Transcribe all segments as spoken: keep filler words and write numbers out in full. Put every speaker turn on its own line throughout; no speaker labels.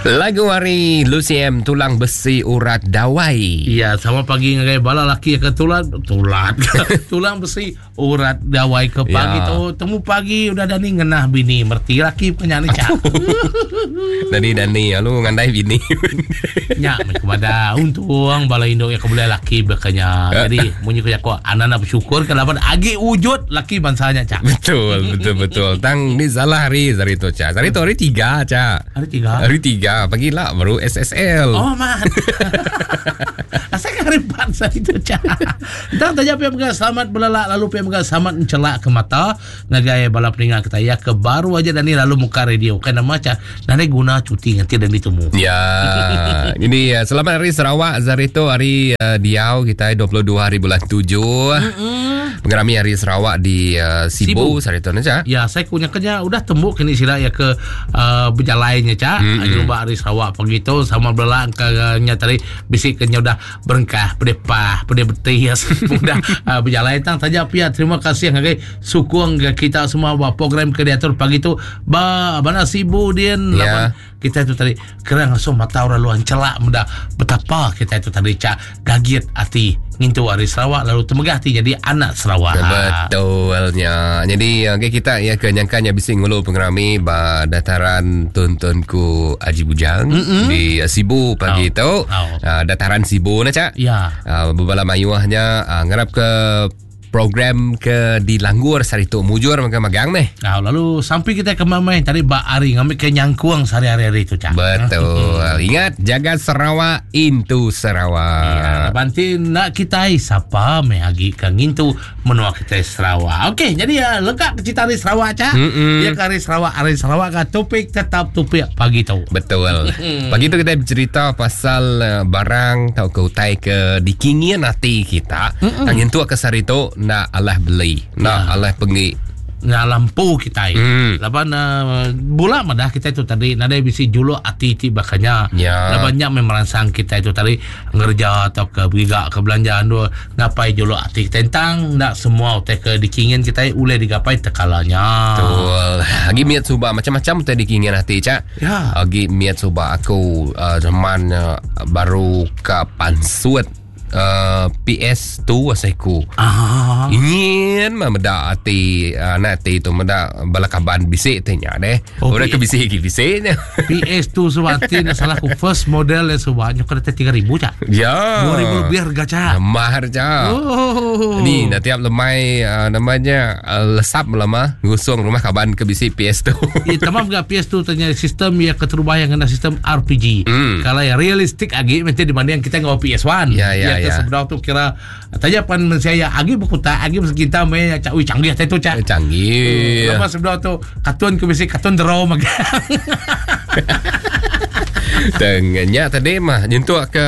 Lagu hari Lucy M Tulang Besi Urat Dawai.
Ya, sama pagi ngagai bala laki ke tulang tulang tulang besi urat dawai ke pagi
Ya.
tu temu pagi udah dani ngenah bini merti laki punya ni cak.
Dani dani lalu ngandai bini.
Nya me kepada untung bala induk yang keboleh laki bekanya. Jadi munyi ku aku anak bersyukur ke laban agi wujud laki bangsanya cak.
Betul, betul, betul. Tang ni salah hari hari tu cak. Hari tu hari tiga cak.
Hari tiga.
Hari tiga pagi lah baru S S L.
Oh man. Asal hari empat saya itu cak. Tang tanya pihak pegang selamat belalak lalu pihak pegang selamat mencelak ke mata ngagai bala peningat kita ya ke baru aja dan ni lalu muka radio kan nama cak nanti guna cuti nanti dan ditemu.
Ya. Ini uh, selamat hari Sarawak Zarito hari uh, diau kita dua puluh dua hari bulan tujuh. Mm-hmm. Pengerami hari Sarawak di uh, Sibu, Sibu. Zarito ni cak.
Ya, saya punya kerja udah tembuk kini sila ya ke uh, berjalannya cak. Mm-hmm. Jumpa hari Sarawak pagi tu sama belak ke nya tadi bisik kenya udah berengkah pedepah pede betih ya udah uh, berjalan tang saja pia terima kasih ngagai sukung ke kita semua buat program ke diatur pagi tu ba bana Sibu din
ya.
Laban kita itu tadi kerang langsung mata orang luar celak muda betapa kita itu tadi cak gagit hati ngintu hari Sarawak lalu temegah hati jadi anak Sarawak.
Betulnya. Jadi okay, kita ya kenyangkanya bising ngulu pengerami ba dataran Tuntunku Haji Bujang
mm-hmm.
di Sibu pagi
oh.
tu.
Oh.
Uh, dataran Sibu nak cak.
Ya.
Uh, bebala mayuahnya uh, ngarap ke program ke di Langgur sehari tu mujur magang-magang nih.
Nah, lalu sampai kita ke mamai tadi bak ari ngambil ke nyangkuang sehari-hari itu cak.
Betul. Ingat jaga Sarawak into Sarawak.
Ya, banti nak kita siapa meh agi ke ngintu menua kita Sarawak. Okey, jadi ya lengkap cerita hari Sarawak cak.
Mm-mm.
Ya ke hari Sarawak, hari Sarawak ke topik tetap topik pagi tu.
Betul. Pagi tu kita bercerita pasal uh, barang atau ke utai ke dikingin hati kita. Tang nyentuh ke sehari tu nak alah beli, nak
ya.
alah pergi
nak lampu kita.
Hmm.
Laban uh, bola madah kita itu tadi nada bisi juluk ati ti bakanya.
Ya.
Laban nyak merangsang kita itu tadi ngerja atau ke berigak ke belanja anu ngapai juluk ati kita tentang nak semua utai ke dikingin kita uleh digapai tekalanya.
Betul. Agi miat suba macam-macam utai dikingin hati cak.
Ya.
Agi miat suba aku uh, zaman uh, baru ke pansut Uh, P S dua asaiku.
Ah.
Ingin mah meda ati uh, nak ati tu meda bala kaban bisik tanya deh.
Oh,
Orang ke bisik ke bisiknya.
P S dua sebab ati nak salah aku first model yang sebab nyo kena tiga ribu cak.
Ya.
dua ribu lebih harga cak.
Mahar cak.
Oh.
Ni nak tiap lemai uh, namanya uh, lesap lama ngusung rumah kaban ke bisik P S dua.
Ya tamam gak P S dua tanya sistem ya keterubah yang kena sistem R P G.
Hmm.
Kalau yang realistik agi macam dibanding kita ngau P S satu.
Ya ya.
Ya,
ya.
Sebenar tu kira tanya pan saya agi berkuta agi kita me cak ui canggih tu cak
canggih.
Lepas sebenar tu kartun ke besi kartun draw magang.
Tengahnya tadi mah nyentuh ke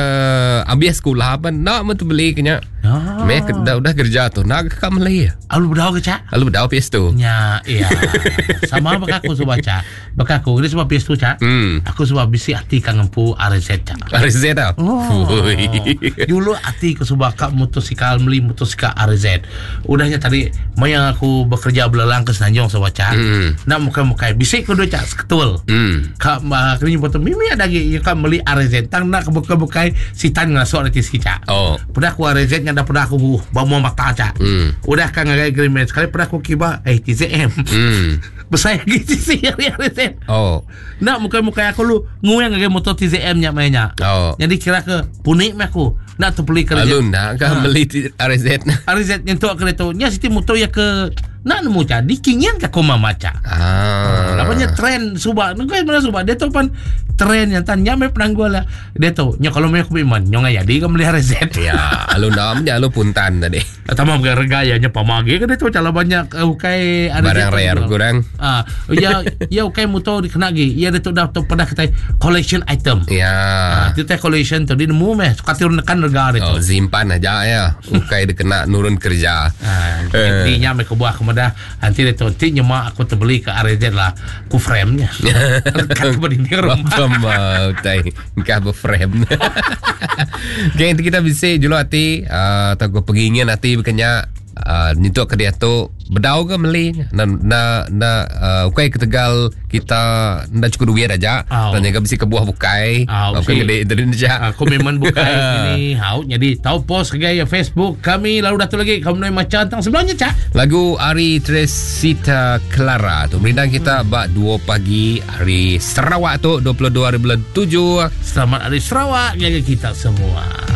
habis sekolah apa nak mah tu beli kenya.
Ah.
Me dah udah kerja tu nak ke Malay.
Alu bedau ke cak?
Alu bedau P S dua.
Ya, iya. Sama bak aku sebab cak. Bak aku ni sebab P S dua cak.
Hmm.
Aku sebab bisi hati kang ngempu R Z cak.
R Z ah.
Oh. Dulu hati ke sebab kak motosikal beli motosikal R Z. Udahnya tadi maya aku bekerja belelang ke Semenanjung sebab cak.
Hmm.
Nak muka-muka bisik ku dua cak seketul.
Hmm.
Kak uh, kena nyebut mimi ada lagi ya kak beli R Z tang nak buka-bukai sitan ngasok nanti sikit cak.
Oh.
Pernah aku R Z nya dah pernah aku bawa mata cak.
Hmm.
Udah kan ngagai agreement sekali pernah aku kiba eh T Z M.
Hmm.
Besar lagi C R Z.
Oh.
Nak muka-muka aku lu nguyang ngagai motor T Z M nya mainnya.
Oh.
Jadi kira ke punik mah aku nak tu beli kerja.
Alun nak kan
Ha.
beli R Z.
R Z nyentuh ke tu. Nya siti motor ya ke nak nemu cak dikingin ke koma maca.
Ah.
Lapanya trend subak. Nunggu mana subak dia tu pan trend yang tanya me penanggul lah. Dia tu nya kalau me aku iman nya ngaya di ke beli R Z.
Ya, alun dah nya alun puntan tadi.
Tamam ke rega ya nya pamagi ke dia tu cala banyak uh, ukai R Z
Barang
tu
rare
jual.
kurang.
Ah, ya ya ukai motor dikena lagi. Ya dia tu dah tu pernah kita collection item.
Ya.
Ah, tu teh collection tu dia nemu meh suka turun nekan rega dia tu.
Oh, simpan aja ya. Ukai dia kena nurun kerja.
Ah,
Eh.
jadi nya me kebuah kemudah nanti dia tu nanti nyemak aku terbeli ke R Z lah ku frame-nya. Lekat ke dinding rumah.
Bapa utai engkau berframe. Okay, nanti kita bisa juluk hati uh, atau ke pengingin hati berkenya uh, nyentuk ke dia tu bedau ke meli na na na uh, ukai ketegal kita nda cukup duit aja
Oh.
dan jaga bisi kebuah bukai
Oh,
bukan
bisi.
gede Indonesia.
Uh, komitmen bukai ini hau jadi tahu post ke gaya Facebook kami lalu dah tu lagi kamu nak macam tentang sebelumnya cak
Lagu Ari Teresita Clara tu merindang kita hmm. bak dua pagi hari Sarawak tu dua puluh dua hari bulan tujuh.
Selamat Hari Sarawak jaga kita semua.